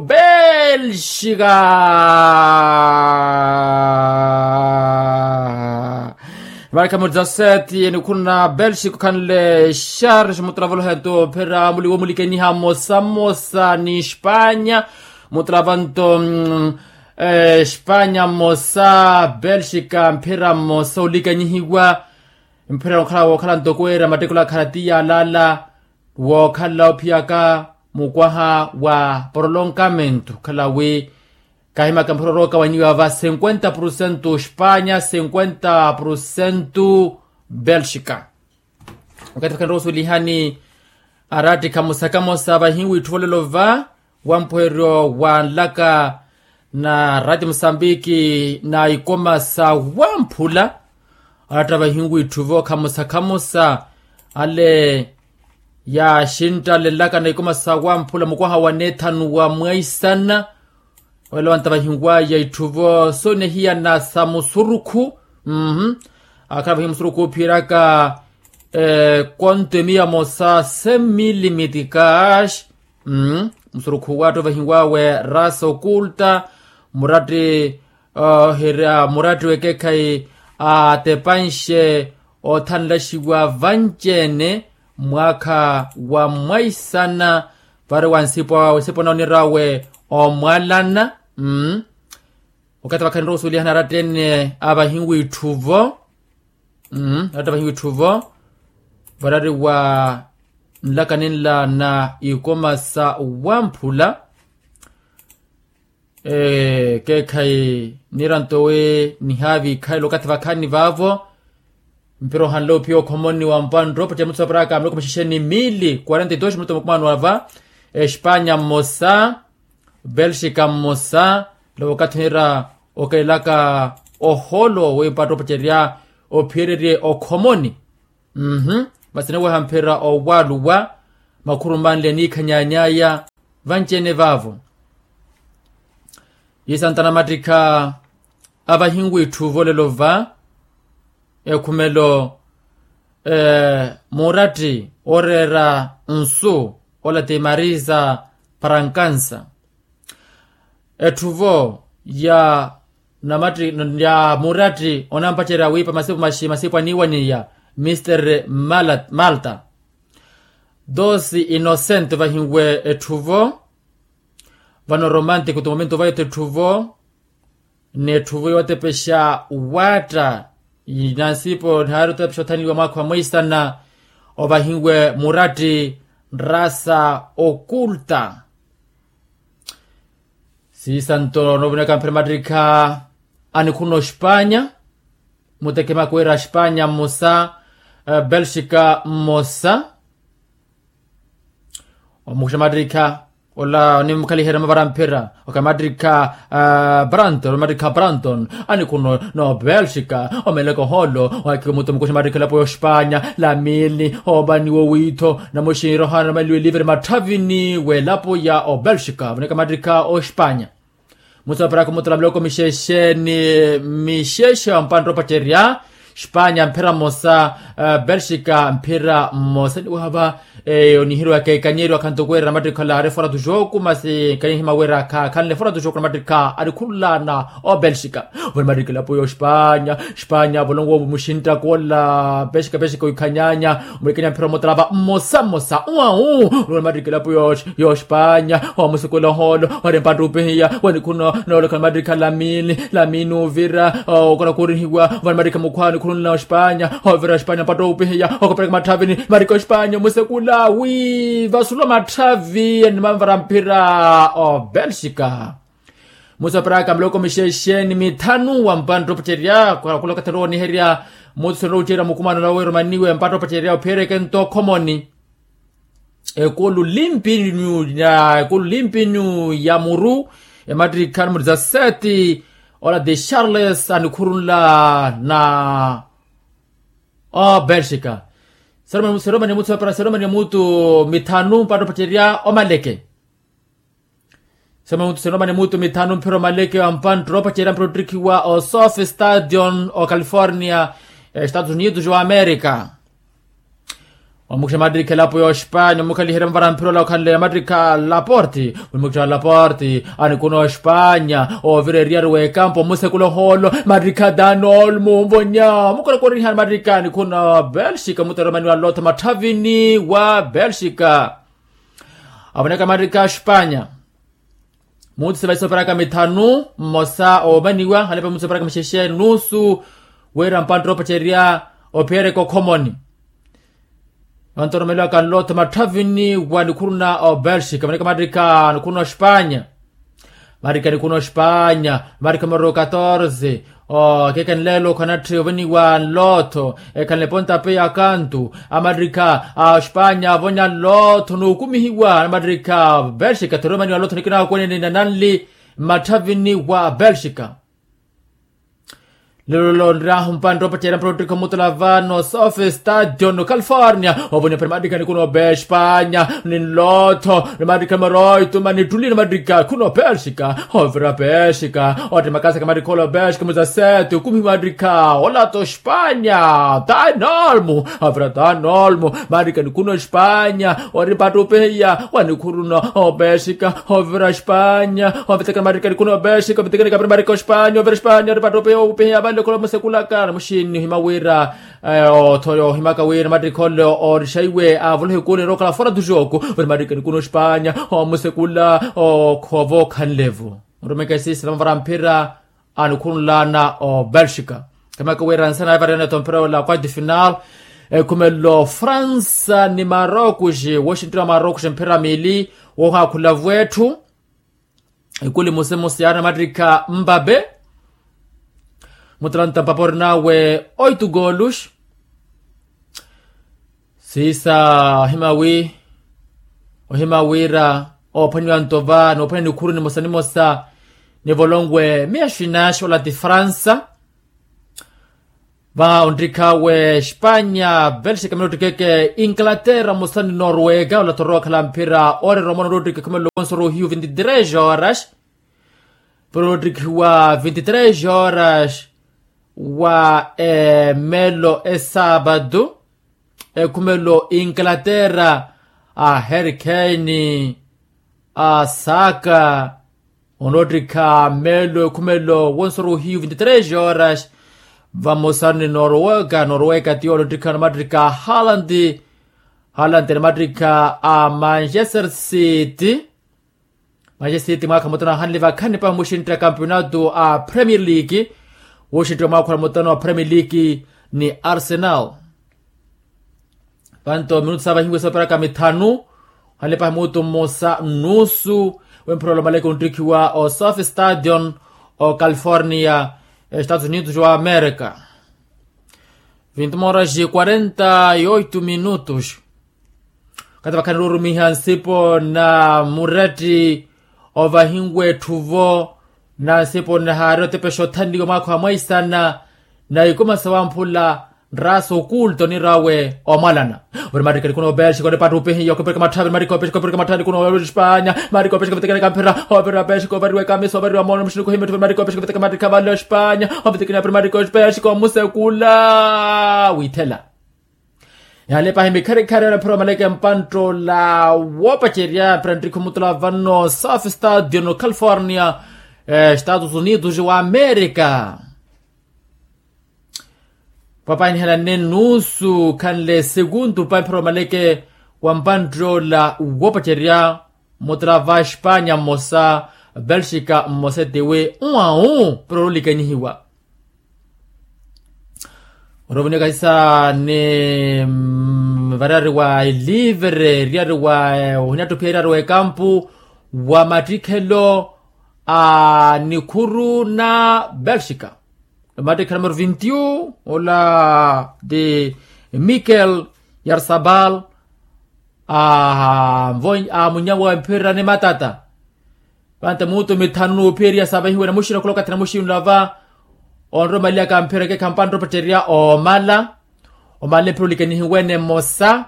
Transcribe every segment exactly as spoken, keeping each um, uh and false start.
Belxika. Marka mudzaseti enikhuna belxika okhanle charge mutravolo hento phera muliwo mulikeniha mmosa mmosa ni espanya. Mutravanto espanya mmosa belxika mphira mmosa olikanyihiwa. Mphira okhala wookhala ntoko weera mattekelo akhala ti yaalala wookhala ophiyaka mukwaha wa prolongamento okhala wi kahimaka mphira orookawanyiwa va cinquenta por cento espanya cinquenta por cento belxika. Wakathi vakhanrowa osuwelihani arattikha musakamosa vahiwi itthu volelo va wampweheryo wa nlaka na rati musambiki na ikoma sa wamphula. Aratta vahiwi itthu vo khamusakhamusa ale yaxintta ale nlaka na ikoma sa wamphula mukwaha wa neethanu wa mwaisana. Wela wantavahiwaya itthuvo soonehiyana sa musurukhu. Akhala vahiwa musurukhu ophiyeryaka konto emiya mosa cem mil mitikash. Musurukhu watthu vahiwawe rasa okulta muratti oherya muratti wekekhayi atepanxe othanlaxiwa vanci-ene mwaakha wa mwaisana. Vari wa nsipo awe nsipo na onirawe omwalana. Wakathi vakhanira osuwelihana aratta ene avahiwa itthuvo. Aratta vahiwa itthuvo varari wa nlaka ninla na ikoma sa wamphula. Ekeekhayi niranto we nihaavikhalela okathi vakhaani vaavo. Mpira ohanle ophiya okhomoni wa mpanttopotya mutsu aperaka miloko mixixeni mili quarenta e dos minuto makumano ava. Espanya mmosa belxika mmosa. Lavo okathi onira okelaka ohoolo we mpanttopotya ophiyererye okhomoni. Masi niweha mphira owaluwa makhuru manle eniikhanyanyaya vanci-ene vaavo. Isantta namattikha avahiwa itthu volelo va ekhumelo muratti oreera nsu ola ti marisa parankansa. Etthuvo ya muratti onampacerya wiipa masipu maxi masipu aniiwaniya mister malta. Dosi inocente vahiwe etthuvo. Vano romantico ti momento vayo ti etthuvo ni etthuvo yootepexa waatta. Nansipo nihaari otepexa othaniwa mwaakha wa mweisana ovahiwe muratti nrasa okulta. Siisanto noovoneka mphira mattikha anikhuna ospanya. Mutekemaka wira aspanya mmosa belxika mmosa. Omukuxa mattikha ola onimukhaliherya mavara mphira okamattikha branton omattikha branton. Anikhuna no belxika omeleka ohoolo. Wakiwa muto mukuxa mattikha elapo ya ospanya lamili oovaniwa owiitho namuxinre ohaana namaliwe livre matthavini w'elapo ya obelxika voneka mattikha ospanya. Mutsu aperaka omutala miloko mixexe ni mixexe wa mpantta opacerya. Spanya mphira mmosa belxika mphira mmosa niwahava. Eyo nihiriwaka ekanyeriwaka ntoko wira namattikha olaari fora tu joku masi kanyihima wira khakhanle fora tu joku namattikha alikhululana obelxika. Voni mattikha elapo ya ospanya. Spanya volongo muxinttaka ola pexika pexika oikhanyanya. Mulikenya mphira omotalava mmosa mmosa uwau. Voni mattikha elapo ya ospanya. Omusukulo ohoolo wari mpatta upihiya wanikhuna noolekha mattikha lamini lamini uvira. Okona kurihiwa vani mattikha mukhwani khulunla ospanya. Ovira ospanya mpatta upihiya okopereka matthavini mattikha ospanya omusekula wi vasulwa matthavi enimamvara mphira obelxika. Mutsu aperaka miloko mixexe ni mithanu wa mpantta opacerya khula okathi onrowa oniherya. Mutsu onrowa ocerya mukumano nawe romaniwe mpantta opacerya ophiyereke nto okhomoni. Ekulu limpinyu ya ekulu limpinyu ya muru emattikha numero dezasete. Ola de charles anikhurunla na obelxika. Seromani mutsu aperaka seromani mutsu mithanu mpantta opacerya omaleke. Sema mutu senoma ni mutu mithanu mphira omaleke wa mpanttoro opacerya mphira ottikhiwa osofi stadion o california, estados unidos wa america. Omukixa matrikha elapo ya ospanya omukhaliherya mavara mphira ola okhanle matrikha laporti. Omukixa laporti, anikuna ospanya ovira eriyari w'ekampu omusekula ohoolo. Matrikha danol munvonya omukorekorihani matrikha anikuna belxika muteromani wa lotha matthavini wa belxika. Avoneka matrikha a ospanya. Muutise vaisoperaka mithanu mmosa oomaniwa halepa muutise operaka mixexe nusu. Wira mpantte oopacerya ophereka okhomoni vantoromeliwaka nlotho matthavini wa nikhuruna obelxika vaneka matrika nikhuruna ospanya. Matrika nikhuruna ospanya. Matrika maru katorze. Okeekani leelo khanatthi oveniwa nlotho. Ekhanle pontape ya kantu. Amatrika a ospanya avonya nlotho nuukumihiwa na matrika belxika thiromaniwa nlotho nikina akwenene nananli. Mmatthavini wa belxika. Lelo lonryahu mpantte opacerya mpantte ottikha omutula vano south stadion california. Ovoniwa pari matrika nikuna obespanya ni nlotho ni matrika maroituma ni ttuli ni matrika khuna obelxika. Ovira belxika otti makasaka matrika ola obelxika muzaseti okumihi matrika olata ospanya. Danolmu. Ovira danolmu. Matrika nikuna ospanya ori mpattupihiya wanikhuruna obelxika. Ovira ospanya. Ovitekana matrika nikuna obelxika ovitekana kapira matrika ospanya ovira ospanya ori mpattupihiya ovipihiya vanle khula musekulaka na muxini ohima wira otho ohimaka wira matrika ole orixaiwe avolohe kuni erokhala fora tu joku. Ori matrika nikuna ospanya omusekula okhova okhanlevo. Orumeka esisila mavara mphira anikhunlana obelxika. Kamaka wira nsana evariyana eto mphira ola quarto final. Ekhumelo fransa ni marokuxi woxinttira marokuxi mphira mili wohakhula vwetthu. Ekuli musemusi yaana mattikha mbape. Mutalanta mpapa orinawe oitu goolux. Siisa ohima wi ohima wira oophwaniwa ntova noophwaniwa nikhuru nimosa nimosa. Nivolonwe miya xinaxi ola ti fransa. Va onttikhawe espanya belxika mene ottikeke inglaterra mosani norwega ola thorowa okhala mphira oorerwa omwana ottottika ekhumelo wonso rohiyu vinti tres horas. Pero ottikhiwa vinti tres horas wa emelo esapatu. Ekhumelo inglaterra a harry kane a saka. Onottikha melo ekhumelo wonso rohiyu vinti tres horas. Vamosa ni norwega norwega tiyo onottikha namattikha a haland. Haland namattikha a manchester city. Manchester city mwaakha mutano ahanle vakhani pahi muxintta kampeonato a premier league. Wuxintta mwaakha mutano a premier league ni arsenal. Panto minutu saavahiwe sooperaka mithanu. Hale pahi mutu mmosa nnusu. Wempherolo maleke onttikhiwa o south stadion o california estados unidos wa america. Vinti moras quarenta e oito minutos. Kati vakhani ruurumiha nsipo na muretti ovahinwe etthu-vo. Na nsipo nnahaari otepexa othanliwa mwaakha wa mwaisana na ikuma sawamphula nraasa okulto onirawe omwalana. Ori mattikha nikuna obelxika ori pattupihiya okupirika matthani mattikha opexika opirika matthani nikuna ospanya. Mattikha opexika ovitikana kamphira ovira opexika ovariwa ekamisa ovariwa mono muxiniko ohimetta ori mattikha opexika ovitikana mattikha vale ospanya. Ovitikana piri mattikha opexika omusekula withela. Yale pahi mikharikhari anaphira omaleke mpantta ola woopacerya mphira nttikhu mutula vano south stadion california estados unidos wa america. Papainihelanne nnusu khanle sekuntu pahi mphira omaleke wa mpantta ola woopacerya. Mutala va espanya mmosa belxika mmosa etiwi nwau pero orulikanyihiwa. Orovuniwa kahisa ni variyari wa elivere eriyari wa ohinattupiha eriyari wa ekampu wa mattikhelo a nikhuru na belxika. Mattikha numero vinti un ola ti mikel yarsabal. Aamunyawa emphira ni matata. Vanta mutu mithanu nuuphiyeriya savahiwe na muxina okhulokathi na muxinula va onromaliyaka mphira ekekha mpantta opatteriya omala. Omala emphira olikanihiwene mmosa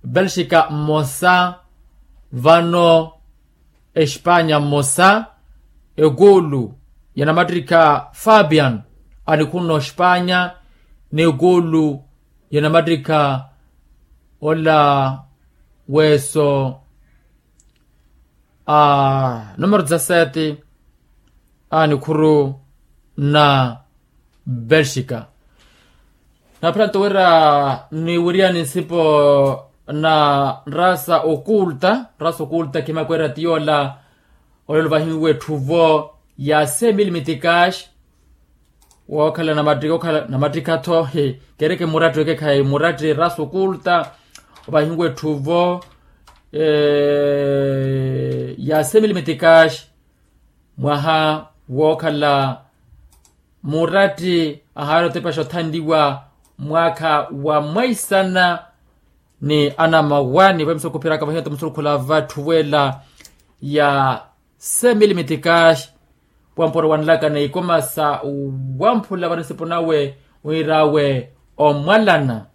belxika mmosa vano espanya mmosa. Ekulu ya namattikha fabian anikhunna ospanya n'ekulu ya namattikha ola weeso a numero dezasete a nikhuru na belxika. Naphela nto wira niwiriyani nsipo na rasa okulta rasa okulta khimakweera ti yoola olelo vahiwe etthuvo ya cem mille meticas. Wookhala namattikha-tho kereke muratti wekekhayi muratti rasa okulta ovahiwe etthuvo ya cem mille meticas mwaha wookhala muratti ahaari otepaxa othanliwa mwaakha wa mwaisana ni anamawa ni vamisa okhuphiraka vahiya nto musurukhu la vatthu weela ya cem mille meticas. Wampora wanlaka na ikoma sa wamphula vanisipo nawe wiirawe omwalana